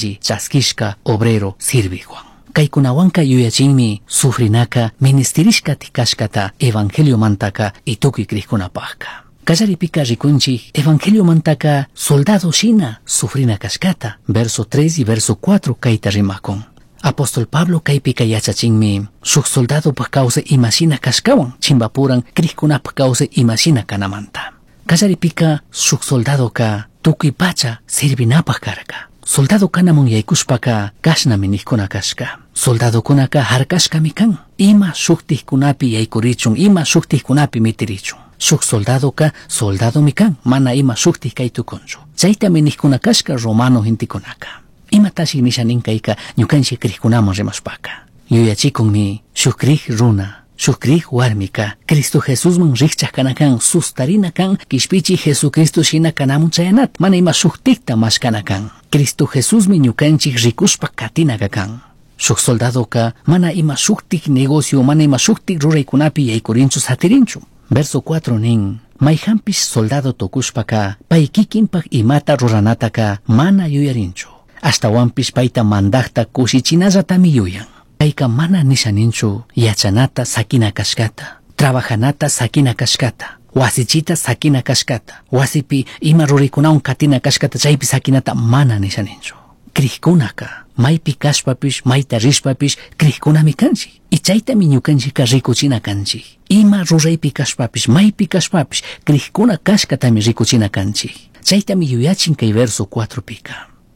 Alli chasquishca obrero sirvijhuan. Caicunahuanca yuyachinmi sufrinaca ministirishca cashcata evangeliomantaca y tucui crijcunapajca. Kallaripika rikunchik evangeliomantaca soldado shina sufrina cashcata, verso 3 y verso 4 kayta rimakun. Apóstol Pablo kaypika yachachinmi shuk soldadopaj kawsay imashina kashkawan chimbapuran crijkunapaj kawsay imashina kanamanta. Kallaripika shuk soldadoka tukuy pacha sirvinapaj karka. Soldado kanamun yaykushpaka kashnami nijkuna kashka. Soldadokunaka harkashkami kan. Ima shuktikkunapi yaykurichun, ima shuktikkunapi mitirichun. Shuk soldadoka soldadomi kan, mana ima shuktik kay tukunchu. Chaytami nijkuna kashka romano gentekunaka. Imatashi nisha nin kayka ñukanchik crijkunaman rimashpaka. Yuyachikunmi shuk crij runa, shuk crij warmika, Cristo Jesusman rikchak kana kan, sustarina kan, kishpichi Jesucristo shina kanamun chayanat, mana ima shuktikta mashkana kan. Cristo Jesusmi ñukanchik rikushpa katinaka kan. Shuk soldadoka mana ima shuktik negocio, mana ima shuktik ruraykunapi yaykurinchu satirinchu. Verso 4 nin, mayhanpish soldado tukushpaka, pay kikinpak imata ruranataka mana yuyarinchu. Ashtawanpish payta mandajta kushichinallatami yuyan. Payka mana nisha ninchu yachanata sakina kashkata, trabajanata sakina kashkata, wasichita sakina kashkata, wasipi ima ruraykunawan katina kashkata chaypi sakinata mana nisha ninchu. Crijkunaka maypi kashpapish, mayta rishpapish crijkunami kanchik. Y chaytami ñukanchikka rikuchina kanchik. Ima ruraypi kashpapish, maypi kashpapish crijkuna kashkatami rikuchina kanchik. Chaytami yuyachin kay verso 4 pika.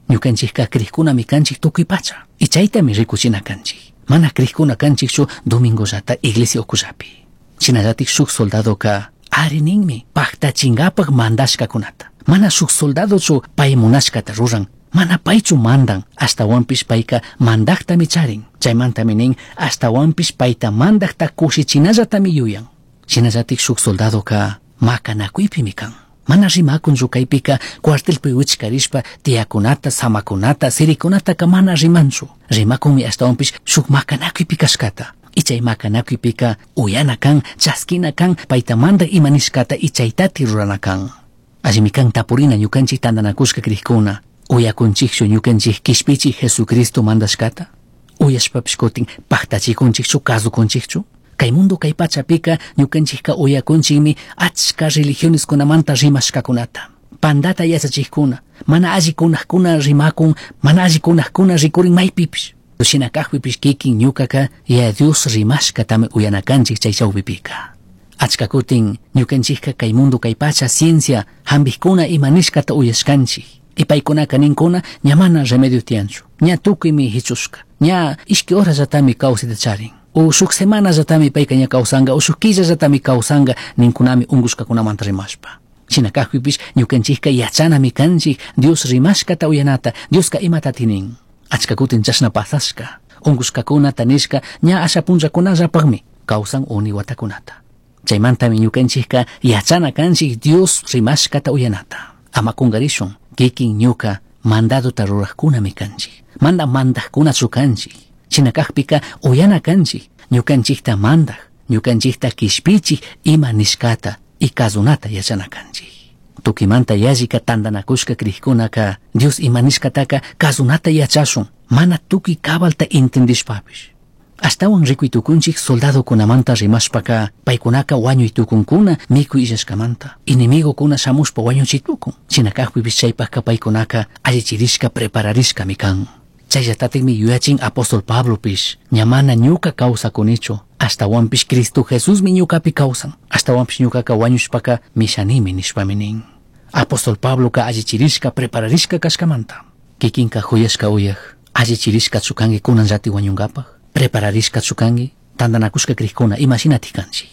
Ñukanchikka crijkunami kanchik tukuy pacha. Y chaytami rikuchina kanchik. Mana crijkuna kanchikchu domingollata iglesia ukullapi. Shinallatik shuk soldadoka ari ninmi paktachinkapak mandashkakunata. Mana shuk soldadochu pay munashkata ruran, mana paychu mandan, ashtawanpish payka mandaktami charin. Chaymantami nin ashtawanpish payta mandakta kushichinallatami yuyan. Shinallatik shuk soldadoka makanakuypimi kan. Mana rimakunchu kaypika cuartelpi wichkarishpa tiyakunata, samakunata, sirikunataka mana rimanchu. Rimakunmi ashtawanpish shuk makanakuypi kashkata. Y chay makanakuypika uyana kan, chaskina kan, payta mandak ima nishkata y chaytati rurana kan. Allimi kan tapurina ñukanchik tantanakushka crijkuna. Uyakunchikchu ñukanchik kishpichik Jesucristo mandashkata? Uyashpapish kutin paktachikunchikchu, kasukunchikchu? Kay mundo kay pachapika ñukanchikka uyakunchikmi achka religioneskunamanta rimashkakunata. Pandata yachachikkuna, mana allikunakuna rimakun, mana allikunakuna rikurin maypipish. Shina kajpipish kikin ñukaka Yaya Dios rimashkatami uyana kanchik chay chawpipika. Achka kutin ñukanchikka kay mundo kay pacha ciencia hambijkuna ima nishkata uyashkanchik. Y paykunaka ninkuna ña mana remedio tiyanchu, ña tukuymi hichushka, ña ishki horallatami kawsayta charin. O shuk semanallatami payka ña kawsanka, o shuk killallatami kawsanka ninkunami unkushkakunamanta rimashpa. Shina kajpipish ñukanchikka yachanami kanchik Dios rimashkata uyanata, Dioska imatati nin. Achka kutin chashna pasashka, unkushkakunata nishka ña asha punllakunallapakmi kawsan uni watakunata. Chaymantami ñukanchikka yachana kanchik Dios rimashkata uyanata. Ama kungarishun, kikin ñuka mandadota rurajkunami kanchik, mana mandajkunachu kanchik. Shina kajpika uyana kanchik, ñukanchikta mandak, ñukanchikta kishpichik ima nishkata y kasunata yachana kanchik. Tukimanta yallika tantanakushka crijkunaka Dios ima nishkataka kasunata yachashun, mana tukuy cabalta entendishpapish. Ashtawan rikuy tukunchik soldadokunamanta rimashpaka paykunaka wañuy tukunkuna mikuy illashkamanta. Enemigokuna shamushpa wañuchiy tukun. Shina kajpipish chaypajka paykunaka allichirishka prepararishkami kan. Chayllatatikmi yuyachin apóstol Pablopish, ña mana ñuka kawsakunichu, ashtawanpish Cristo Jesusmi ñukapi kawsan, ashtawanpish ñukaka wañushpaka mishanimi nishpami nin. Apóstol Pabloka allichirishka prepararishka kashkamanta. Kikinka juyashka uyaj, allichirishkachu kanki kunanllati wañunkapaj, prepararishkachu kanki, tantanakushka crijkuna imashinatik kanchik.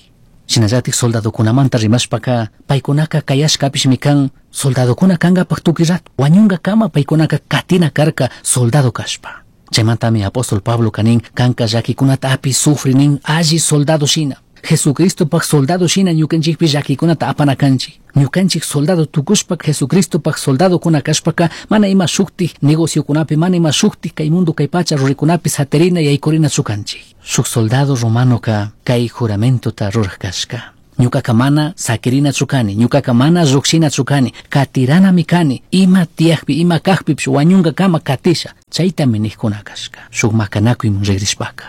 Shinallatik soldadokunamanta rimashpaka paykunaka kayashkapishmi kan soldadokuna kankapak tukuy rato wañunkakama paykunaka katina karka soldado kashpa. Chaymantami apóstol Pablo nin kanka llakikunata api sufri nin alli soldado shina. Jesucristopak soldado shina ñukanchikpi llakikunata apana kanchik. Ñukanchik soldado tukushpa Jesucristopak soldadokuna kashpaka mana ima shuktik negociokunapi, mana ima shuktik kay mundo kay pacha ruraykunapi satirina yaykurinachu kanchik. Shuk soldado romanoka kay juramentota ruraj kashka. Ñucaca mana saquirinachu cani, ñucaca mana llujshinachu cani, catiranami cani, ima tiyajpi, ima cajpipish wañungacama catisha, chaitami nijcuna cashca. Shuk macanakuyman rigrishpaca.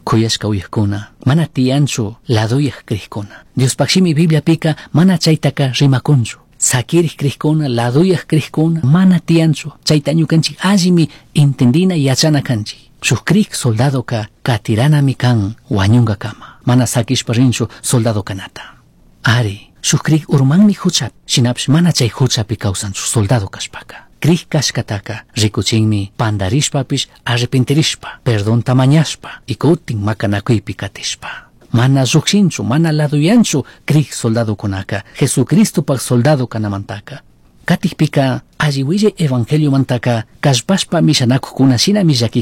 Kuyashka uyajkuna, mana tiyanchu ladoyaj crijkuna. Diospaj shimi Bibliapika mana chaitaka rimakunchu. Saquirij crijkuna, ladoyaj crijkuna, mana tiyanchu. Chaita ñukanchik allimi entendina yachana kanchik. Shuk crij soldadoka katiranami kan wañungakama. Mana sakishpa rinchu soldado kanata. Ari, shuk crij urmanmi huchapi, shinapish mana chay huchapi kawsanchu soldado kashpaka. Crij kashkataka rikuchinmi pandarishpapish arrepentirishpa, perdonta mañashpa y kutin makanakuypi katishpa. Mana llukshinchu, mana laduyanchu crij soldadokunaka, Jesucristopaj soldado kanamantaka. Katikpika alli willay evangeliomantaka kallpashpa mishanakukuna shinami.